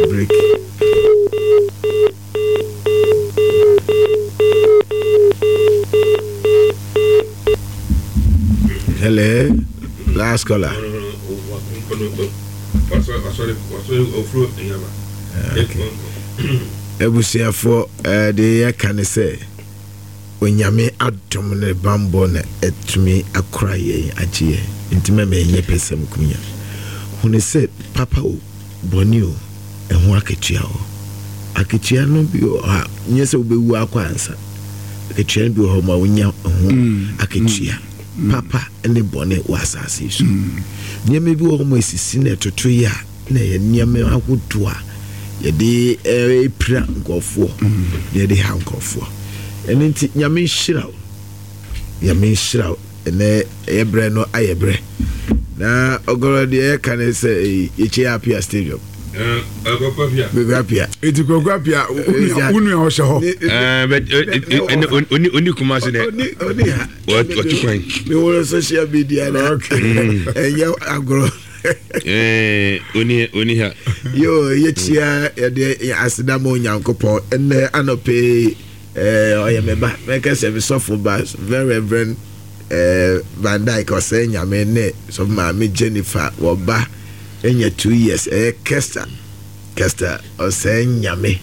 Break. Hello, last caller. Abusuafoɔ, eh, deɛ yɛka ne sɛ Onyame adom ne bammɔ na atumi akora yɛn agye yɛn, nti mɛma yɛnyɛ pɛsɛmkonya. Hunu sɛ papa o, bɔne o, ɛho akatua wɔ hɔ. Akatua no bi wɔ hɔ a, nyɛ sɛ wobɛwu akɔ ansa. Akatua no bi wɔ hɔ ma wonya ho akatua, papa ne bɔne wɔ asase yi so. Nneɛma bi wɔ hɔ ma esisi na ɛtoto yɛ a, na ɛyɛ nneɛma ahodoɔ a yɛde pira nkurɔfoɔ, na yɛde ha nkurɔfoɔ. Ɛno nti, Nyame nhyira wo. Nyame nhyira wo. Ɛnɛ ɛyɛ berɛ no ayɛ berɛ. Na ɔgɔrɔ deɛ yɛka ne sɛ yɛkyɛ Apia Stadium. Kwaku Apia. Eti Kwaku Apia wo nua ɔhyɛ hɔ. Oni kuma se dɛ. Oni ha. Wɔtu kwan. Mi wɔ social media na ɛnyɛ agorɔ. Oni oni ha. Yo yɛkyia yɛde aseda ma Onyankopɔn ɛnɛ anɔpɛ yi. Eh, ɔyɛ me ba. Mɛka sɛ me sɔfo ba, Very Reverend eh, Van Dyke ɔsɛe nyame ne sɔfo maame Jennifer wɔba anya 2 years, ɛyɛ Kester Kester ɔsɛe nyame.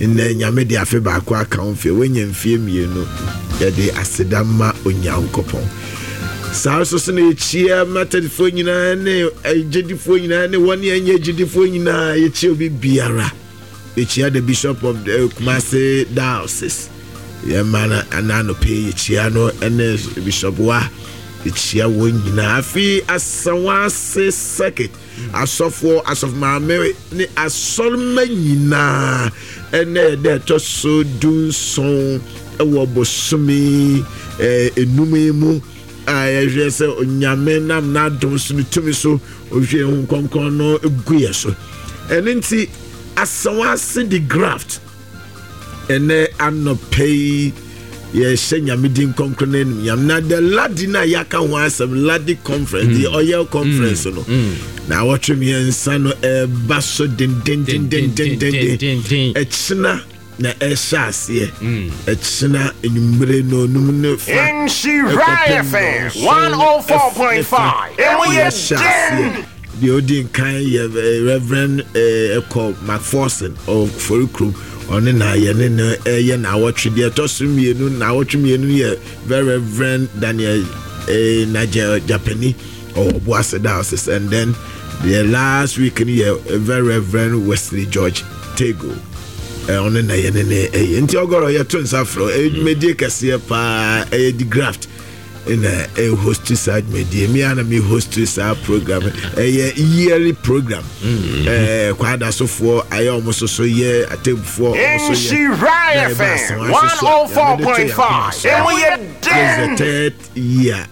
Nnɛ Nyame de afe baako aka wo mfeɛ, woanya mfeɛ 2. Yɛde aseda ma Onyankopɔn. Saa nso so na yɛkyia Methodistfoɔ nyinaa ne agyedifoɔ nyinaa ne wɔn a ɛnyɛ agyidifoɔ nyinaa, yɛkyia obi biara. Yɛkyia the Bishop of the Kumasi Diocese. Yɛma no ana anɔpɛ yɛkyia no ne Bishop wa yɛkyia wɔn nyinaa. Afei Asawase Circuit asɔfoɔ, asɔfo maame ne asɔremma nyinaa, ɛnɛ yɛda ɛtɔ so 17 ɛwɔ bosome 5 yi mu a yɛhwɛ sɛ Onyame nam n'adom so ne tumi so ohwie ho nkɔnkɔn no gu yɛ so. Ɛno nti Asawase de graft ɛnɛ anɔpɛ yi yɛhyɛ Nyame din kronkron no anim nyam. Na the ladi no a yɛaka ho asɛm, ladi conference, the oil conference no, na awɔtwe mmiɛnsa no ɛba so dendendendendenden. Ɛkyena na ɛhyɛ aseɛ, ɛkyena enwummere no num ne fa Nhyira ɛkɔpem FM nɔnson ne fa 104.5. Emu yɛ yɛhyɛ aseɛ. den. Deɛ odi nkan yɛ Reverend ɛkɔ Macpherson ɔfori kurom, ɔne na yɛne no ɛyɛ naawɔtwe. Deɛ ɛtɔ so mmienu, naawɔtwe mmienu no yɛ Very Reverend Daniel Nigel Japani ɔwɔ Obuasi Diocese, and then the last week no yɛ Very Reverend Wesley George Tego, ɔne na yɛne ne ɛyɛ. Nti ɔgɔrɔ yɛto nsa frɛ ɛyɛ dwumadie kɛseɛ paa. Ɛyɛ di graft na ɛhost saa dwumadie, mi a na mi host saa program. Ɛyɛ yearly program. Kwadasofoɔ ayɛ ɔmo soso, yɛ atemfoɔ ɔmo so yɛ Nhyira na ɛba FM Asawa so so a yɛde to yɛn akoma 104.5. so. Emu yɛ This is the den. third year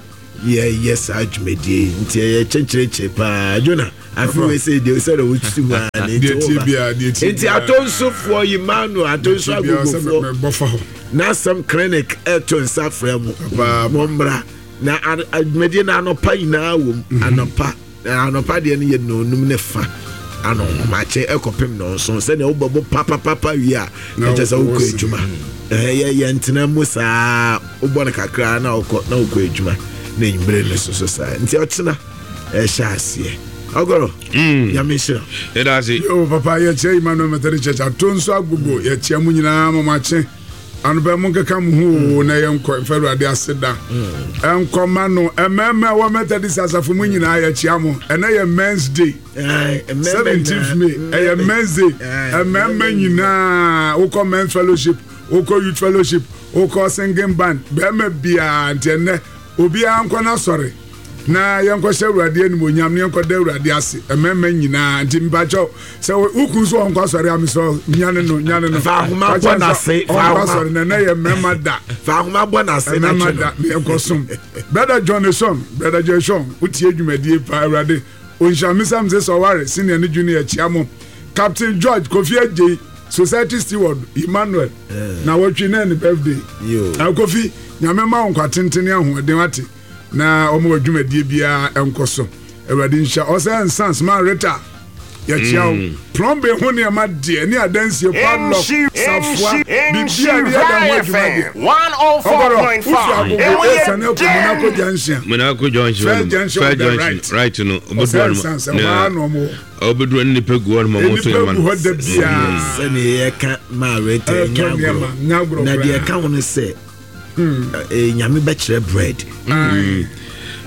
yɛyɛ saa dwumadie yi, nti ɛyɛ kyɛnkyerɛkyerɛ paa. Jona afi wei sɛ deɛ sɛ na wotutu mu a ne nti Deɛ tie woba biara, deɛ tie nti biara. Atonsofoɔ, Emmanuel Atonso Deɛ tie biara sɛ Agogofoɔ mebɔ fa hɔ. N'asɛm clinic ɛto nsa frɛ mo. Papaapa. Mommra na dwumadie no anɔpa nyinaa wɔ mu. Anɔpa na anɔpa deɛ no yɛ nonum ne fa anɔhomakye ɛkɔpem nɔnson, sɛnea wobɛbɔ papapapa wie a Na ɛkyɛ sɛ wokɔ wɔsi. adwuma. Yɛ yɛntena mu saa, wobɔ no kakra na wokɔ na wokɔ adwuma na enyimire no so so saa. Nti ɔkyena ɛhyɛ aseɛ. Ɔgɔrɔ, Nyame nhyira. Yɛda ase. Yo papa, yɛkyerɛ Emmanuel Methodist Church Atonso Agogo, yɛkyia mu nyinaa mɔmakye anɔpɛ. Mo nkeka mo ho o na yɛnkɔ mfa Awurade ase da ɛnkɔma no. Mmarima a ɛwɔ Methodist asafo mu nyinaa, yɛkyia mo. Ɛnɛ yɛ Men's Day, 17th May ɛyɛ Men's Day. Mmarima nyinaa, wokɔ men's fellowship, wokɔ youth fellowship, wokɔ singing band, bɛrima biara, nti ɛnɛ obiara nkɔ n'asɔre na yɛnkɔhyɛ Awurade animonyam na yɛnkɔda Awurade ase. Mmarima nyinaa, nti mpakyɛw, sɛ wokun so ɔnkɔ asɔre a, mesrɛ, nyane no, nyane no. Fa ahoma bɔ n'ase, fa ɔnkɔ ahoma. asɔre na ɛnɛ yɛ mmarima da. Fa ahoma bɔ n'ase na mmarima twe no. Da na yɛnkɔ som. Brother John Eson, Brother John Eson, wotie dwumadie pa. Awurade ɔnhyira me sam sɛ sɛ senior ne junior, kyia mo. Captain George Kofi Adjei, society steward, Emmanuel na wɔtwe na ne birthday. Yo. Kofi, Nyame ma wo nkwa tenten ne ahoɔden, wate, na ɔma wɔ dwumadie biara nkɔ so. Awurade nhyira ɔsɛ nsans ma Rita. Yɛkyia wo. Plumbing ho nneɛma deɛ ne adansie, padlock, safoa, biribi a yɛde yɛ dan ho adwuma deɛ. Ɔgɔrɔ, wofi Agogo esiane akɔ Monaco Junction. Monaco Junction. First junction First on the junction. right. Right no. Ɔsɛ nsan sɛ hɔ ara na ɔmo wɔ. Ɔbɛduru ne nipa gu hɔ no ma ɔmo to Nnipa yɛ ma gu no. hɔ da biara. Sɛnea yɛka maa reta Ɛtɔ nya nneɛma, nya agorɔ agorɔ na deɛ koraa. ɛka ho no sɛ nyame bɛkyerɛ bread.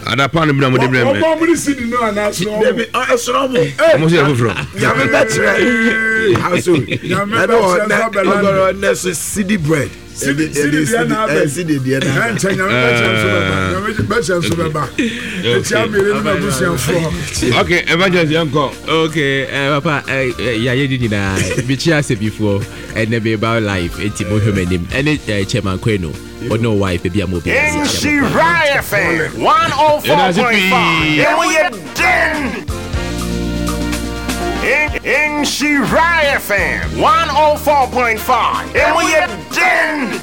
Adapa no bi na mo de brɛ mɛ. Ɔbɔ ɔmo ne sidi no anaa sono ɔmo. Dabi ɛsono ɔmo. Ɔmo sɛ yɛ foforɔ. Nyame bɛkyerɛ. Aso Nyame ɛna bɛkyerɛ ɔ nso abɛlande. ɔgɔrɔ ɔnɛ so sidi bread. Sidi sidi deɛ na abɛ. Sidi deɛ na abɛ. Ɛnkyɛ nyame bɛkyerɛ nso bɛba. Nyame bɛkyerɛ nso bɛba. Ekyia mmienu ne m'abusuafoɔ. Okay, evangelist yɛn kɔ. Okay, papa, yɛayɛ ne nyinaa. Mekyia asɛbifoɔ ɛnɛ meba live enti mohwɛ m'anim. Ɛne Chairman Kwenu, ɔne o wife baabi a mo bi. Nhyira FM 104.5. Emu yɛ den. Nhyira FM 104.5. Emu yɛ den.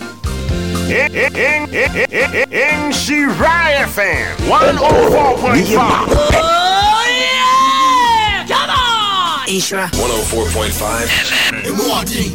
Nhyira FM 104.5. Oh yeah! Come on! Nhyira 104.5 Emu ɔden.